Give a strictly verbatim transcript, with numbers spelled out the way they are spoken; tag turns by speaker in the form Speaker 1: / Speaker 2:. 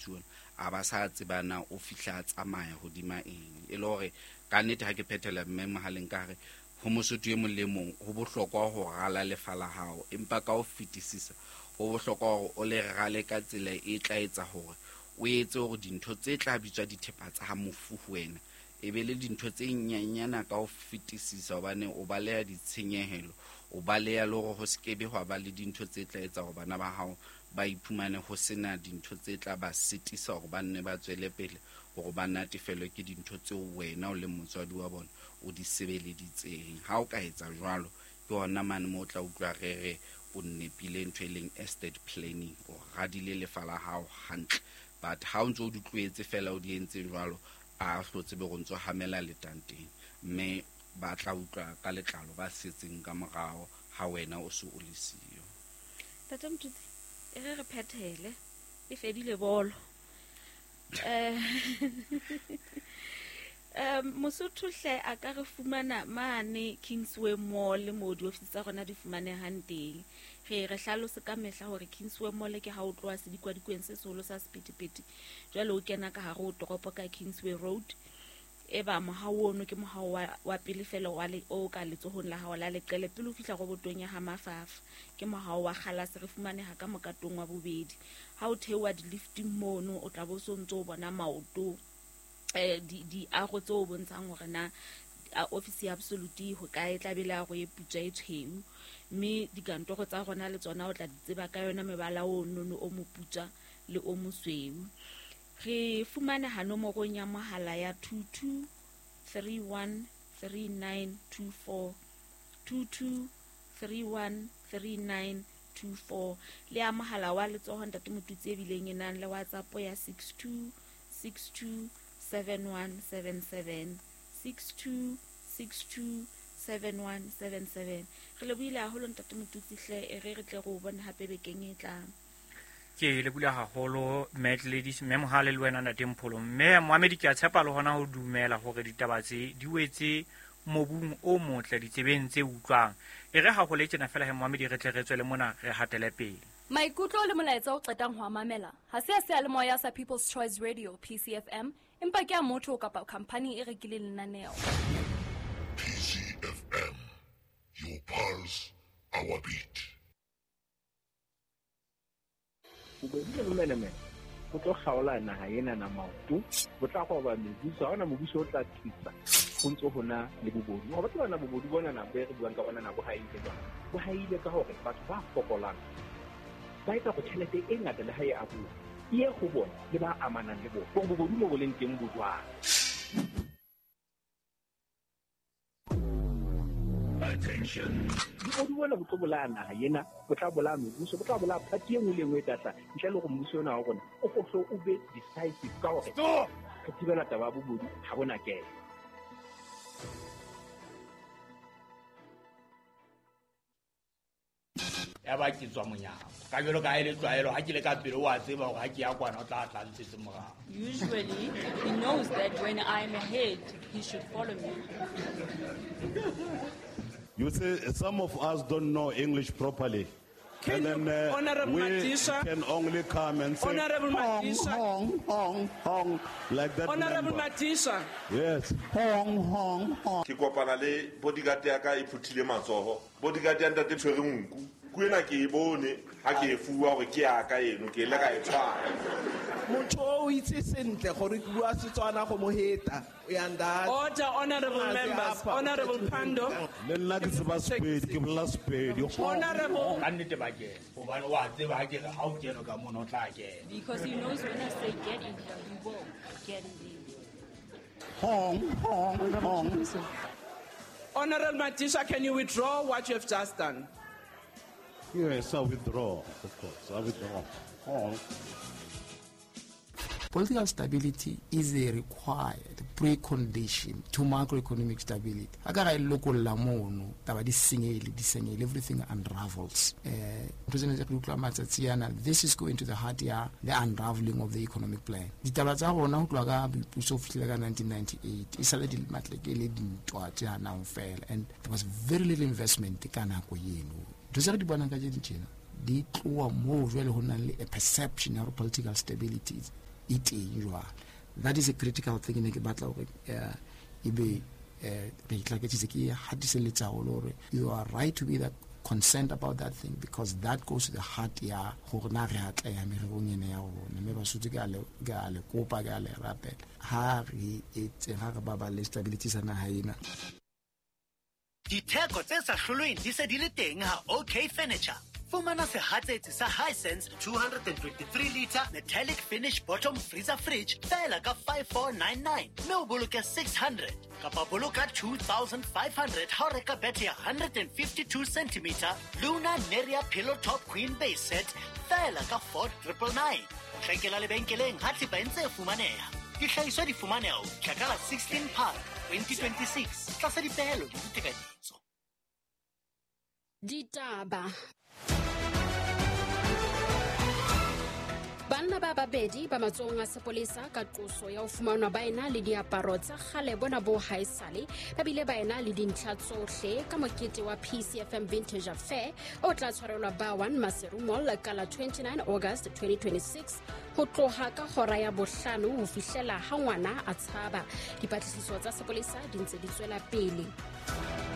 Speaker 1: Motutsi ona a ba sa tsebana o fihla a tsamaya hodima eng. E le hore ka nnete ha ke phethela mme mohaleng ka re ho Mosotho e mong le mong ho bohlokwa ho rala lefa la hao, empa ka ho fetisisa ho bohlokwa hore o le rale ka tsela e tla etsa hore o etse hore dintho tse tla bitswa dithepa tsa mofu ho wena e be le dintho tse nyenyana ka ho fetisisa, hobane o baleha ditshenyehelo, o baleha le hore ho se ke be hwa ba le dintho tse tla etsa hore bana ba hao ba iphumane ho sena dintho tse tla ba sitisa hore ba nne ba tswele pele hore ba natefelwe ke dintho tseo wena o leng motswadi wa bona o di sebeleditseng. Ha o ka etsa jwalo, ke hona mane moo o tla utlwa re re o nepile ntho e leng estate planning, o radile lefa la hao hantle. But ha o ntso o di tlohetse fela o di entse jwalo, a hlotse be go ntso hamela letanteng, mme ba tla utlwa ka letlalo ba setseng ka morao ha wena o se o le siyo.
Speaker 2: Tata Motutsi, e re re phethele, e fedile bolo. Eh um Mosotho hle a ka re fumana mane Kingsway Mall mo diofisi tsa rona di fumanehang teng. Re re hlalose ka mehla hore Kingsway Mall ke ha o tloha sedikwadikweni se seholo sa sephethephethe, jwale o kena ka hare ho toropo ka Kingsway Road. E ba mohao ono ke mohao wa, wa pele fela wa le o ka letsohong la hao la leqele pele o fihla robotong ya ha Mafafa. Ke mohao wa kgalase, re fumaneha ka mokatong wa bobedi. Ha o theoha di-lifting mono o tla bo so ntso o bona maoto eh di di ago tse o bontshang hore na office ya Absolute ho kae, tla be le ago e putswa e tshweu, mme dikantoro tsa rona le tsona o tla di tseba ka yona mebala o nono o moputswa le o mosweu. Re fumaneha nomorong ya mohala ya two two three one three nine two four, two two three one three nine two four, le ya mohala wa letsoho Ntate Motutsi e bileng e nang le WhatsApp ya six two six two seven one seven seven, six two six two seven one seven seven. Re lebohile haholo Ntate Motutsi hle, e re re tle re o bone hape bekeng e tlang.
Speaker 3: Ke lebohile haholo Mad Ladies, mme Mohale le wena Ntate Mpholo. Mme Mohamedi, ke a tshepa le hona ho dumela hore ditaba tse di wetse mobung o motle ditsebeng tse utlwang. E re ha ho le tjena fela he Mohamedi, re tle re tswele mona re hatele pele.
Speaker 4: Maikutlo le molaetsa o qetang ho a mamela ha se a seyalemoya sa People's Choice Radio P C F M, empa ke a motho kapa khampani e rekileng lenaneo.
Speaker 5: P C F M, your pulse, our beat.
Speaker 6: Bobedi le bomenemene bo tlo kgaola naha ena na maoto, bo tla roba mebuso, ha hona mobuso o tla thusa ho ntso hona le bobodu. Ho batla bona bobodu bona na bo re buang ka bona na bo haile jwang? Bo haile ka hore batho ba fokolang ba etsa go tjhelete e ngata le ha e abuwa e ye ho bona le ba amanang le bona. Hore bobodu mo bo leng teng bo jwang?
Speaker 5: Attention.
Speaker 6: Bobodu bona bo tlo bolaya naha ena, bo tla bolaya mebuso, bo tla bolaya party e nngwe le e nngwe e tla tla ntle le hore mmuso ona wa rona o hlo o be decisive ka hore re thibela taba ya bobodu ha bona kena.
Speaker 7: Ya ba ke tswa monyako ka jwalo ka ha e le tlwaelo, ha ke le ka pele o a tseba hore ha ke ya kwana o tla tla ntshetse morao.
Speaker 8: Usually he knows that when I'm ahead he should follow me.
Speaker 9: You see, some of us don't know English properly.
Speaker 10: Can
Speaker 9: And then,
Speaker 10: you,
Speaker 9: uh,
Speaker 10: Honorable
Speaker 9: we
Speaker 10: Matisha,
Speaker 9: can only come and say,
Speaker 10: Honorable
Speaker 9: hong,
Speaker 10: Matisha.
Speaker 9: hong, hong, hong, like that.
Speaker 10: Honorable
Speaker 9: number.
Speaker 10: Matisha.
Speaker 9: Yes. Hong, hong, hong.
Speaker 11: Ke kopana le bodyguard ya ka e phuthile matsoho. Bodyguard ya ntate tshwere nku. Ku ena ke e bone ha ke e fuwa hore ke ya ka eno, ke ile ka e tshwara.
Speaker 12: Motho o itse sentle gore ke bua Setswana go mo heta. Uyanda.
Speaker 10: Order, honorable
Speaker 12: Ngaze
Speaker 10: members.
Speaker 12: apha,
Speaker 10: Honorable
Speaker 12: uthethe
Speaker 10: Pando.
Speaker 9: Le nna ke tseba Sepedi, ke bolela Sepedi.
Speaker 10: Honorable.
Speaker 7: Ka nnete ba kena. Hobane wa tseba ha ke re ha o kene ka mona o tla kena.
Speaker 8: Because he knows when I say get in here, he will get in there.
Speaker 9: Hong, hong, hong.
Speaker 10: Honorable Matisha, can you withdraw what you have just done?
Speaker 9: Yes, I withdraw, of course. I withdraw. Hong.
Speaker 13: Political stability is a required precondition to macroeconomic stability. A ka ga e lokolla mono, taba di senyehile, di senyehile, everything unravels. Eh, ntho tsena tse re utlwa matsatsi ana, this is going to the heart ya the unraveling of the economic plan. Ditaba tsa rona ho tloha ka boipuso ho fihlela ka nineteen ninety-eight, e sale di matleke le dintwa tse hanang fela, and there was very little investment ka nako eno. Ntho tse re di bonang ka tje tjena, di tloha moo jwale ho nang le a perception ya hore political stability is e teng jwale. That is a critical thing ne ke batla hore ebe re itlaketsitse ke hatiselletsa haholo hore you are right to be that concerned about that thing, because that goes to the heart ya hore na re atleha mererong ena ya rona. Mme Basotho ke a le ke a le kopa, ke a le rapela, ha re etse ha re baballe stability sa naha ena.
Speaker 14: Ditheko tse sa hlolweng di se di le teng ha OK Furniture. Fumana sehatsetsi sa Hisense two twenty-three liter metallic finish bottom freezer fridge feela ka five four nine nine mme o boloke six hundred kapa boloka two thousand five hundred ha o reka bethe ya one hundred fifty-two centimeter Luna Neria pillow top queen base set feela ka four triple nine. Hlekela lebenkeleng ha thepa e ntse e fumaneha. Dihlahiswa di fumaneha ho fihla ka la sixteen Phato twenty twenty-six tlasa dipehelo le ditekanyetso.
Speaker 15: Ditaba. Banna ba babedi ba matsohong a sepolesa ka qoso ya ho fumanwa ba ena le diaparo tsa kgale bona bo haesale, ba bile ba ena le dintlha tsohle ka mokete wa P C F M Vintage Affair o tla tshwarelwa ba one Maseru Mall ka la twenty-nine August twenty twenty-six ho tloha ka hora ya bohlano ho fihlela ha ngwana a tshaba. Dipatlisiso tsa sepolesa di ntse di tswela pele.